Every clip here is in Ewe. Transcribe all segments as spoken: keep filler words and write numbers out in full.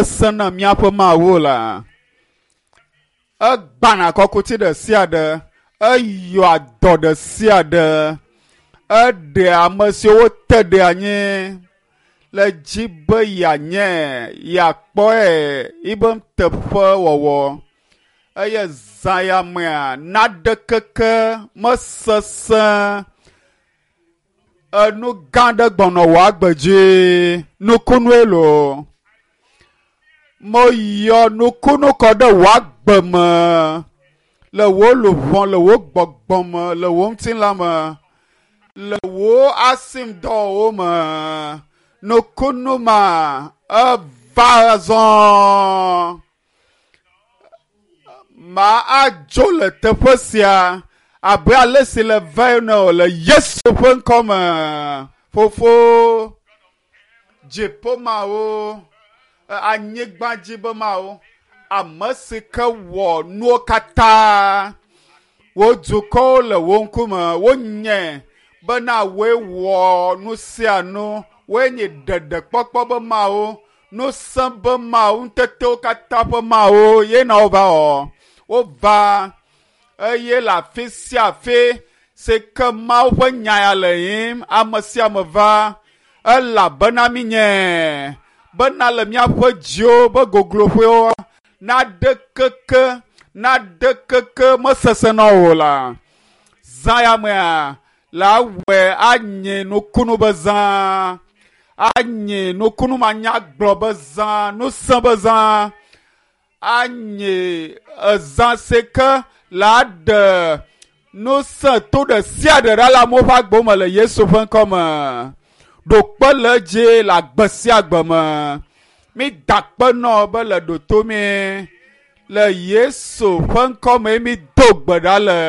Sesẽ na míaƒe Mawu la. Egbãna kɔkuti ɖe sia ɖe, eyɔa dɔ ɖe sia ɖe, eɖea ame siwo wote ɖe anyi le dzi be yeanye yeakpɔe yibe nuteƒewɔwɔ eye zã ya mea naɖekeke mesesẽ enu gã aɖe gbɔnɔ wò agbe dzi nukunue loo meyɔ nukunu kɔ ɖe wò agbe me le wò luʋɔ le wò gbɔgbɔ me le wò ŋutilã me le wò asimdɔwɔwɔ me nukunu ma eva zɔ ma adzo le teƒe sia abe ale si le va ene o le Yesu ƒe ŋkɔ me fofo dziƒo mawo anyigba dzi be mawo ame si ke wɔ nuwo katã wò dukɔwo le wò ŋkume wonye bena woe wɔ nu sia nu woe nye ɖeɖekpɔkpɔ be mawo ŋusẽ be mawo ŋutetewo katã ƒe mawo ye na wova wɔ wova eye le afi sia afi si ke Mawu ƒe nya ya le yim ame sia ame va elabena mi nye bena le míaƒe dziwo be gogloƒewo naɖe keke naɖe keke mesesẽ na o la zã ya mea la wɔe anye nukunu be zã anye nukunu manyagblɔ be zã ŋusẽ be zã anye ezã si ke la ɖe ŋusẽ to ɖe sia ɖe ɖa le amewo ƒe agbewo me le Yesu ƒe ŋkɔ me ɖokpe le edzi le agbe sia agbe me mi da akpe nɔ be le ɖoto mi le Yesu ƒe ŋkɔ me mi do gbe ɖa le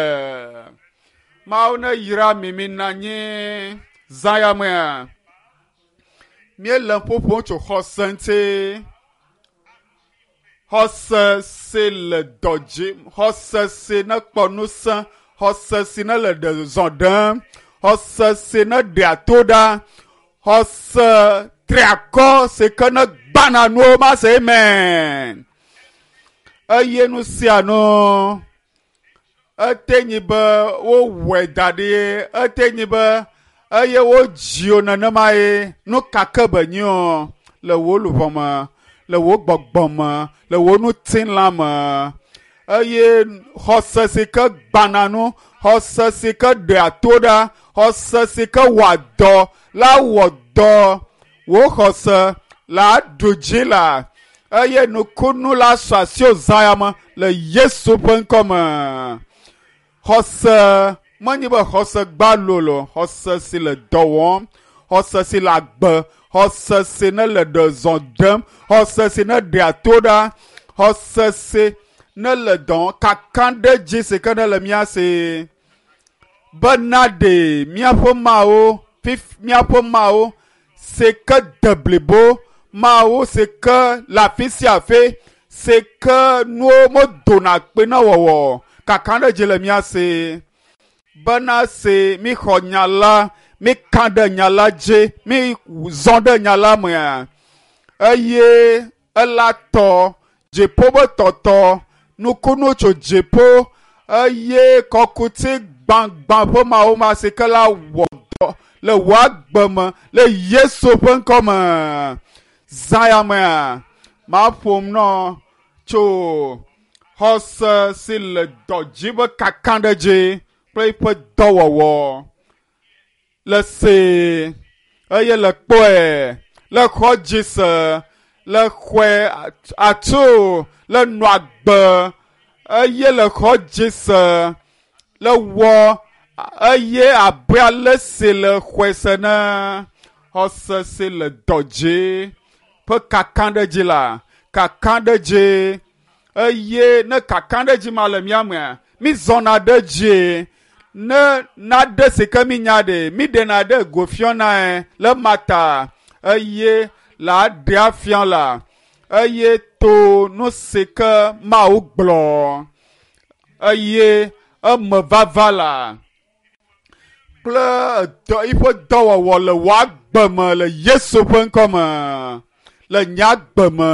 Mawu ne yra mi mi na anyi zã ya mea míele ƒoƒom tso xɔse ŋuti xɔse si le dɔ dzi xɔse si ne kpɔ ŋusẽ xɔse si ne le ɖe zɔ ɖem xɔse si ne ɖea to ɖa xɔse triakɔ si ke ne gbãna nuwo ma se amen eye nu sia nu ete nyi be wowɔe da ɖi ete nyi be eye wodzi wo nenema ye nu ka ke be nyi o le wò luʋɔ me le wò gbɔgbɔ me le wò ŋutilã me eye xɔse si ke gbãna nu xɔse si ke ɖea to ɖa xɔse si ke wɔa dɔ la wɔ dɔ wò xɔse la ɖu dzi la eye nukunu la sɔ asiwò zã ya me le Yesu ƒe ŋkɔ me xɔse menye be xɔse gbalo lo xɔse si le dɔ wɔm xɔse si le agbe xɔse si ne le ɖe zɔ ɖem xɔse si ne ɖea to ɖa xɔse si ne le dɔ kakam ɖe dzi si ke ne le mía si bena ɖe míaƒe mawo fif míaƒe mawo si ke de blibo mawo si ke le afi sia afi si ke nuwo medona kpe na wɔwɔ kakam ɖe dzi le mía si bena se míxɔ nya la míka ɖe nya la dzi mí zɔ ɖe nya la mea eye ela tɔ dziƒo be tɔtɔ nukunu tso dziƒo eye kɔkuti gbãgbã ƒe mawo ma si ke la wɔ dɔ le wò agbe me le Yesu ƒe ŋkɔ me zã ya mea maƒom nɔ tso xɔse si le dɔ dzi be kakam ɖe dzi kple eƒe dɔwɔwɔ le see eye le kpɔe le xɔ dzi se le xɔe atu le nɔ agbe eye le xɔ dzi se le wɔ eye abe ale si le xɔe se ne xɔse si le dɔ dzi ƒe kakam ɖe dzi la kakam ɖe dzi eye ne kakam ɖe dzi ma le mía mea mi zɔna ɖe dzi ne naɖe si ke mi nya ɖe mi ɖena ɖe go fiɔnae le mata eye la ɖea fia la eye to nu si ke Mawu gblɔ eye eme vava la kple dɔ eƒe dɔwɔwɔ le wò agbe me le Yesu ƒe ŋkɔ me le nye agbe me.